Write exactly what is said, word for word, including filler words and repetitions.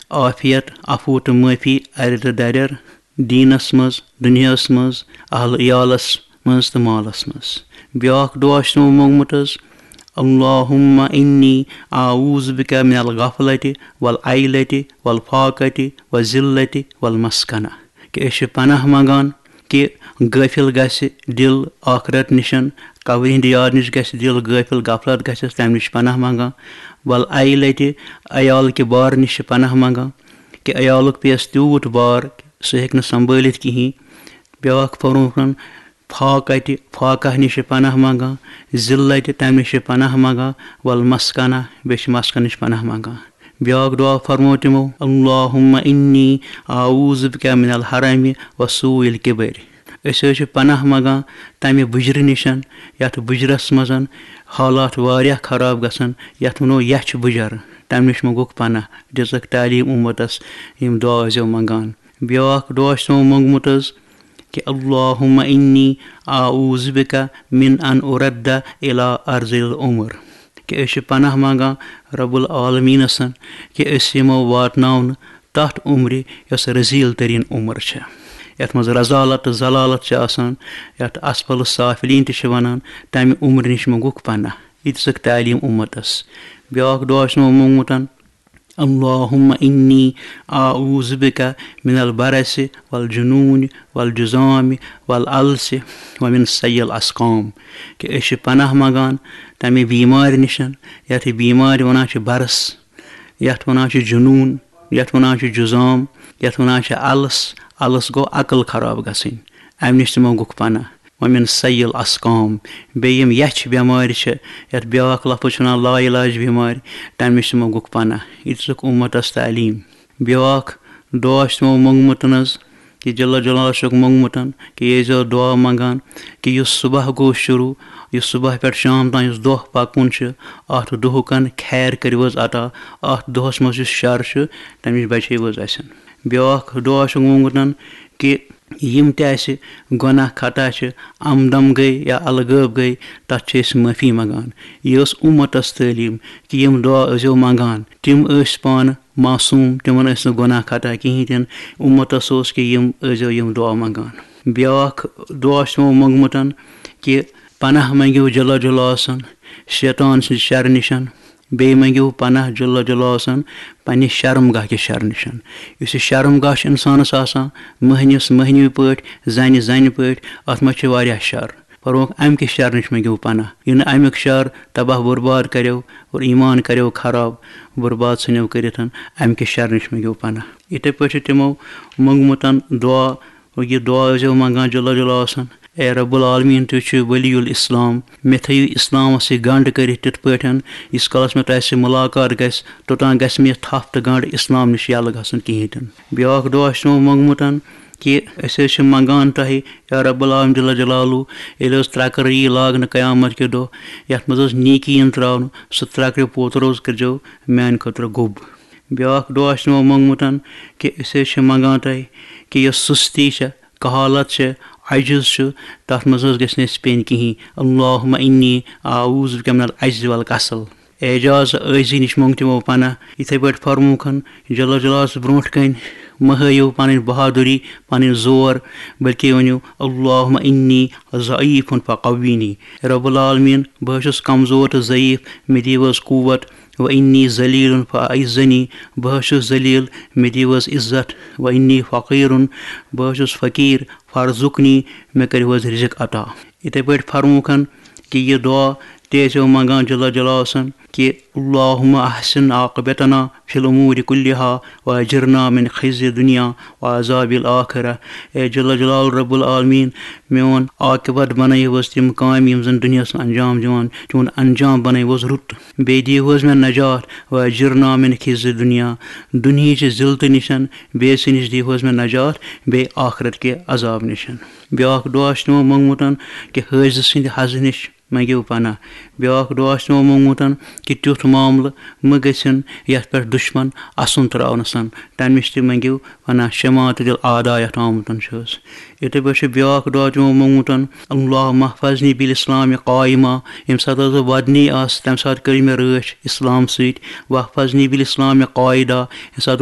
عافیت، عفو تہٕ معٲفی، اَرِ تہٕ دَرٮ۪ر، دیٖنَس منٛز، دُنیاہَس منٛز، اہل عیالَس منٛز تہٕ مالَس منٛز۔ بیٛاکھ دُعا چھُ تِمو موٚنگمُت حظ، اللہم انی اعوذ بک من الغفلۃ والعیلۃ والفاقۃ والذلۃ والمسکنہ، کہِ أسۍ چھِ پناہ منٛگان کہِ غٲفِل گژھِ دِل ٲخرت نِشن، قبرِ ہِنٛدِ یاد نِش گژھِ دِل غٲفِل، غفلت گژھٮ۪س، تَمہِ نِش چھِ پناہ منٛگان۔ والعیلۃ، عیال کہِ بار نِش چھِ پناہ منٛگان کہِ عیالُک پیٚیَس تیوٗت بار، سُہ ہیٚکہِ نہٕ سنبھٲلِتھ کِہیٖنۍ۔ بیٛاکھ فرمووُکھ، فاقہ تہِ، فاقہ نِش چھِ پناہ منٛگان، ذلت تہِ، تَمہِ نِش چھِ پناہ منٛگان، والمسکنہ، بیٚیہِ چھِ مسکن نِش پناہ منٛگان۔ بیٛاکھ دُعا فرموو تِمو، اللہم انی اعوذ بک من الحرم وسوء الکبر۔ أسۍ حظ چھِ پناہ منٛگان تَمہِ بُجرٕ نِش، یَتھ بُجرَس منٛز حالات واریاہ خراب گژھن، یَتھ وَنو یَچھ بُجر، تَمہِ نِش منٛگوکھ پناہ۔ دِژٕکھ تعلیٖم اُمتَس، یِم دُعا ٲسۍزیو منٛگان۔ بیٛاکھ دُعا چھُ تِمو موٚنگمُت حظ، کہِ اللہم انی اعوذ بک من ان ارد الی ارض العمر، کہِ أسۍ چھِ پناہ منٛگان رب العالمینس کہِ أسۍ یِمو واتناونہٕ تتھ عمرِ یۄس رذیل ترین عمر چھےٚ، یتھ منٛز رذالت تہٕ ذلالت چھِ آسان، یتھ اسفل السافلین تہِ چھِ ونان، تمہِ عمرِ نِش منٛگُکھ پناہ۔ یہِ دِژٕکھ تعلیٖم اُمتس۔ بیٛاکھ دُعا چھُ تِمو موٚنگمُت، اللہم انی اعوذ بک من البرس والجنون والجذام والالس ومن سیء الاسقام، کہِ أسۍ چھِ پناہ منٛگان تمہِ بیمارِ نِش، یتھ بیمارِ ونان چھِ برس، یتھ ونان چھِ جنون، یتھ ونان چھِ جذام، یتھ ونان چھِ الس۔ الس گوٚو عقل خراب گژھٕنۍ، امہِ نِش تہِ منٛگُکھ پناہ۔ ومن سیء الاسقام، بیٚیہِ یِم یَچھ بٮ۪مارِ چھِ، یَتھ بیٛاکھ لفظ چھِ وَنان لا علاج بٮ۪مارِ، تَمہِ نِش تہِ منٛگُکھ پناہ۔ یہِ دِژٕکھ اُمتَس تعلیٖم۔ بیٛاکھ دُعا چھُ تِمو موٚنگمُت حظ، کہِ جل جلالہ چھُکھ موٚنگمُت کہِ یہِ ٲسۍزیو دُعا منٛگان کہِ یُس صُبح گوٚو شروٗع، یُس صُبح پٮ۪ٹھ شام تام یُس دۄہ پَکُن چھُ، اَتھ دۄہُکَن خیر کٔرِو حظ عطا، اَتھ دۄہَس منٛز یُس شَر چھُ، تَمہِ نِش بچٲیِو حظ اَسہِ۔ بیٛاکھ دُعا چھُکھ موٚنگمُت کہِ یِم تہِ اَسہِ گۄناہ خطا چھِ، عمدم گٔے یا الغٲب گٔے، تَتھ چھِ أسۍ معٲفی منٛگان۔ یہِ ٲس اُمتَس تعلیٖم کہِ یِم دُعا ٲسۍزیو منٛگان۔ تِم ٲسۍ پانہٕ معصوٗم، تِمَن ٲسۍ نہٕ گۄناہ خطا کِہیٖنۍ تہِ نہٕ۔ اُمتَس اوس کہِ یِم ٲسۍزیو یِم دُعا منٛگان۔ بیٛاکھ دُعا چھُ تِمو موٚنگمُت کہِ پناہ منٛگِو جل جلالہ سُنٛد شیطان سٕنٛدِ شرٕ نِش۔ بیٚیہِ مٔنٛگِو پناہ جل جلالہ سُنٛد پننہِ شرمگاہ کہِ شرٕ نِش۔ یُس یہِ شرمگاہ چھُ اِنسانَس آسان، مٔہنِوِس مٔہنِوِ پٲٹھۍ، زَنہِ زَنہِ پٲٹھۍ، اَتھ منٛز چھِ واریاہ شر۔ فرمووُکھ، اَمہِ کہِ شرٕ نِش مٔنٛگِو پناہ۔ یہِ نہٕ اَمیُک شر تباہ برباد کَریو اور ایمان کَریو خراب، برباد ژھٕنیو کٔرِتھ، اَمہِ کہِ شرٕ نِش مٔنٛگِو پناہ۔ یِتھَے پٲٹھۍ چھُ تِمو موٚنٛگمُت دُعا، اور یہِ دُعا ٲسۍزیو منٛگان جل جلالہ سُنٛد، اے رب العالمین، تُہۍ چھِو ولی الاسلام، مےٚ تھٲیِو اِسلامَس سۭتۍ گنٛڈ کٔرِتھ تِتھ پٲٹھۍ، ییٖتِس کالَس مےٚ تۄہہِ سۭتۍ مُلاقات گژھِ، توٚتام گژھِ مےٚ یہِ تھپھ تہٕ گنٛڈ اِسلام نِش یَلہٕ گژھُن کِہیٖنۍ تہِ نہٕ۔ بیٛاکھ دُعا چھُ تِمو موٚنٛگمُت کہِ أسۍ حظ چھِ منٛگان تۄہہِ، یا رب العالمین جل جلالہ، ییٚلہِ حظ ترٛکٕر یی لاگنہٕ قیامت کہِ دۄہ، یَتھ منٛز حظ نیکی یِن ترٛاونہٕ، سُہ ترٛکرِ پوتُر حظ کٔرۍزیو میٛانہِ خٲطرٕ گوٚب۔ بیٛاکھ دُعا چھُ تِمو موٚنٛگمُت کہِ أسۍ حظ چھِ منٛگان تۄہہِ کہِ یۄس سُستی چھےٚ، کہالت چھِ، عجز چھُ، تَتھ منٛز حظ گژھِ نہٕ اَسہِ پیٚنۍ کِہیٖنۍ۔ اللہم انی اعوذ بک من العجز والکسل۔ اعجاز، عٲجزی نِش موٚنٛگ تِمو پناہ۔ یِتھَے پٲٹھۍ فرمووُکھ جل جلالہ سٕنٛز برٛونٛٹھ کَنۍ، مہٕ ہٲیِو پنٕنۍ بہادُری، پنٕنۍ زور، بلکہِ ؤنِو، اللہم انی ضعیف فقوینی۔ رب العالمین، بہٕ حظ چھُس کمزور تہٕ ضعیف، مےٚ دِیِو حظ قوت۔ و انی ذلیل فاعزنی، بہٕ حظ چھُس ذلیل، مےٚ دِیِو حظ عزت۔ و انی فقیرن، بہٕ حظ چھُس فقیٖر، فارزقنی، مےٚ کٔرِو حظ رزق عطا۔ یِتھَے پٲٹھۍ فرمووُکھ کہِ یہِ دُعا تہِ ٲسۍزیو منٛگان جل جلالہ سُنٛد کہِ اللہم احسن عاقبتنا فی الامور کلہا واجرنا من خزی الدنیا وعذاب الآخرہ۔ اے جل جلال رب العالمین، میون عاقبت بنٲیِو حظ تِم کامہِ یِم زن دُنیاہس منٛز انجام دِوان، تِہُنٛد انجام بنٲیِو حظ رُت۔ بیٚیہِ دِیِو حظ مےٚ نجات، واجرنا من خزی الدنیا، دُنہِچہِ ذلتہٕ نِش، بے عزتی نِش دِیِو حظ مےٚ نجات، بیٚیہِ آخرت کہِ عذاب نِش۔ بیٛاکھ دُعا چھُ تِمو موٚنٛگمُت کہِ حٲجزٕ سٕنٛدِ حضہٕ نِش مٔنٛگِو پناہ۔ بیٛاکھ دُعا چھُ تِمو موٚنٛگمُت کہِ تیُتھ معاملہٕ مہٕ گٔژھِن یَتھ پٮ۪ٹھ دُشمن اَسُن ترٛاونَسَن، تَمہِ نِش تہِ مٔنٛگِو پناہ، شماتت الاعداء یَتھ آمُت چھُ حظ۔ یِتھَے پٲٹھۍ چھُ بیٛاکھ دُعا تِمو موٚنٛگمُت، اللہم احفظنی بالاسلام قائما، ییٚمہِ ساتہٕ حظ بہٕ وَدنی آسہٕ، تَمہِ ساتہٕ کٔرِو مےٚ رٲچھ اِسلام سۭتۍ، واحفظنی بالاسلام قاعدا، ییٚمہِ ساتہٕ